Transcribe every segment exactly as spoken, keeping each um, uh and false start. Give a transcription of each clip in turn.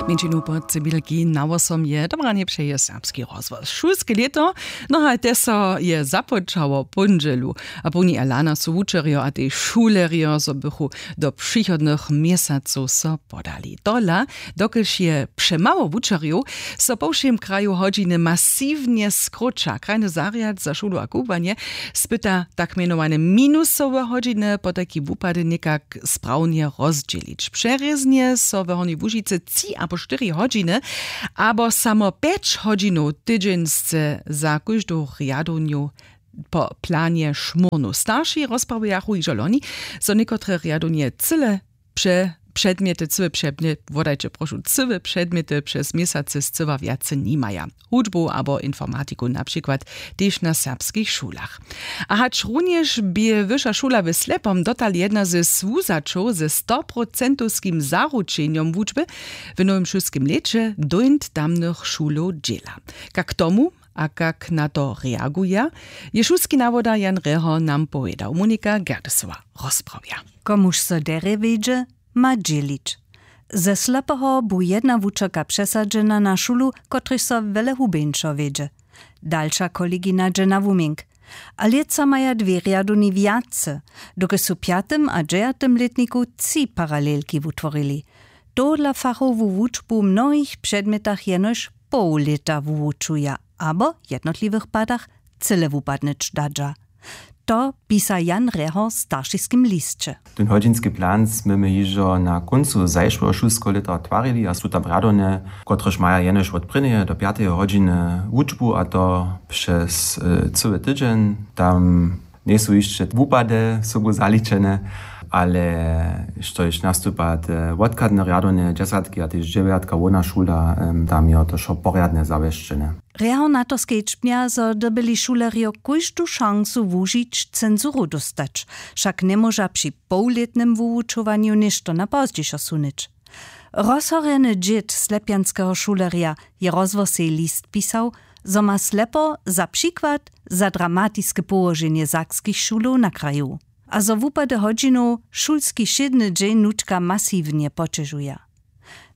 Mjeńšinu po cibilki na wosom je dobranje přeje serbski rozhłos. Šulske lěto, no a te so je započało póndźelu. A połni elana su wučerjo a tež šulerjo zo bychu do přichodnych měsacow so podali. Tola, dokelž je přemało wučerjow, so po wšěm kraju hodźiny masiwnje skróća. Krajny zarjad za šulu a kubłanje spyta tak mjenowane minusowe hodźiny, potajki wupady někak sprawnje rozdźělić. Přerěznje so w Hornjej Łužicy tři abo štyri hodźiny abo samo pjeć hodźinow tydźeń sce za kóždu rjadownju po planje šmórnu. Starši rozprawjachu hižo loni, zo někotre rjadownje cyle pře předmjety, cyłe předmjety, wodajće prošu, cyłe předmjety přez měsacy scyła wjace nimaja. Hudźbu abo informatiku na přikład tež na serbskich šulach. A hačrunjež bě wyša šula w Slepom dotal jedna ze słuzaćow ze stoprocentowskim zaručenjom wučby, w nowym šulskim lěće dóńt tamnych šulow dźěla. Kak tomu a kak na to reaguja, je šulski nawoda Jan Reho nam powědał. Monika Gerdesowa rozprawja. Komuž so derje wědźe, ma dźělić. Ze Slepoho bu jedna wučerka přesadźena na šulu, kotryž so wjele hubeńšo wědźe. Dalša kolegina dźe na wuměnk. A lětsa maja dwě rjadowni wjace, dokelž su w pjatym a dźewjatym lětniku tři paralelki wutworili. Tohodla fachowu wučbu w mnohich předmjetach jenož poł lěta wuwučuja abo w jednotliwych padach cyle wupadnyć dadźa. To pisa Jan Reho w staršiskim lisće. Ten hodźinski plan smy my hižo na kóncu zašłeho šulskeho lěta twarili a su tam rjadowne, kotrež maja jenož wot prěnjeje do pjateje hodźiny wučbu, a to přez e, cyły tydźeń. Tam njejsu hišće wupady sobu zaličene, ale štož nastupa te wotchadne rjadowne dźesatki a tež dźewjatka hłowna šula, em, tam je to wšo porjadnje zawěsćene. Reho na to skedźbnja, zo dyrbyli šulerjo kóždu šansu wužić, censuru dóstać. Wšak njemóža při połlětnym wuwučowanju něšto na pozdźišo sunyć. Rozhorjeny dźěd slepjanskeho šulerja je rozhłosej list pisał, zo ma Slepo za přikład za dramatiske połoženje sakskich šulow na kraju a zo wupady hodźinow šulski wšědny dźeń nutka masiwnje poćežuja.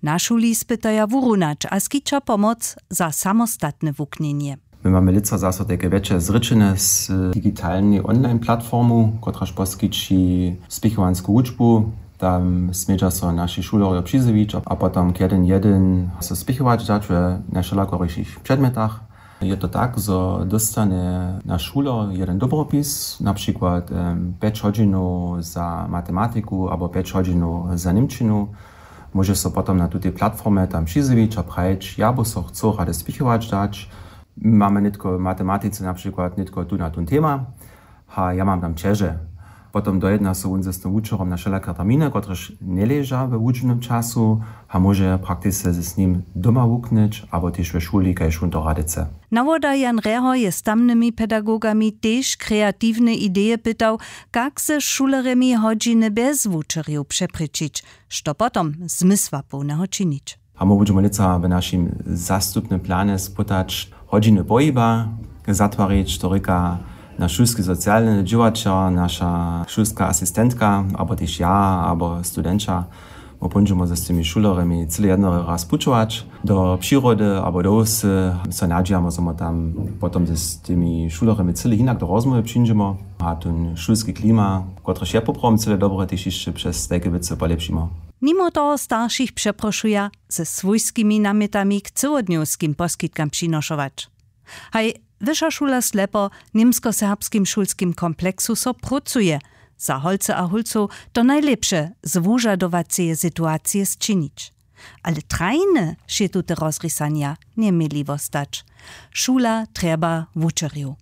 Na šuli spytaja wurunać a skića pomoc za samostatne wuknjenje. My mamy lětsa zaso tajke wjetše zrěčene z digitalnej online platformu, kotraž poskići spěchowansku wučbu. Tam smědźa so naši šulerjo přizjewić a potom kjedyn jedyn so spěchować dać we najwšelakorišich předmjetach. Je to tak, zo dóstanje naš šuler jedyn dobropis, na přikład em, pjeć hodźinow za matematiku abo pjeć hodźinow za němčinu. Móže so potom na tutej platformje tam přizjewić a prajić: „Ja by so chcał rady spěchować dać. Mamy nětko w matematice na přikład nětko tu na tón tema, a ja mam tam ćeže.“ Potom dojedna so wón z tym wučerjom na wšelake terminy, kotrež njeleža we wučbnym času, a móže praktisce z nim doma wuknyć abo tež we šuli, kaž wón to rady chce. Nawoda Jan Reho je z tamnymi pedagogami tež kreatiwne ideje pytał, kak ze šulerjemi hodźiny bjez wučerjow přeprěčić, što potom zmysłapołneho činić. A my budźemy lětsa w našim zastupnym planje spytać hodźiny pohiba zatwarić, to rěka naš šulski socialny dźěłaćer, naša šulska asistentka abo tež ja abo studenća. My póńdźemy z tymi šulerjemi cyle jedny raz pućować do přirody abo do wsy. So nadźijamy, zo my tam potom z tymi šulerjemi cyle hinak do rozmołwy přińdźemy a ten šulski klima, kotryž je poprawom cyle dobry, tež hišće přez tajke wěcy polěpšimy. Nimo toho staršich přeprošuja, ze swójskimi namjetami k cyłodnjowskim poskitkam přinošować. Haj, wyša šula Slepo w němskoserbskim šulskim kompleksu so prócuje. Za holcy a hólcow to najlěpše z wužadowaceje situacije sčinić. Ale trajne wšě tute rozrisanja njeměli wostać. Šula trjeba wučerjow.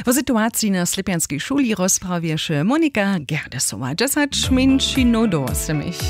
Wo situaciji na Slěpjanskej šuli rozprawješe Monika Gerdesowa. Dźesać mjeńšinow do wosomich.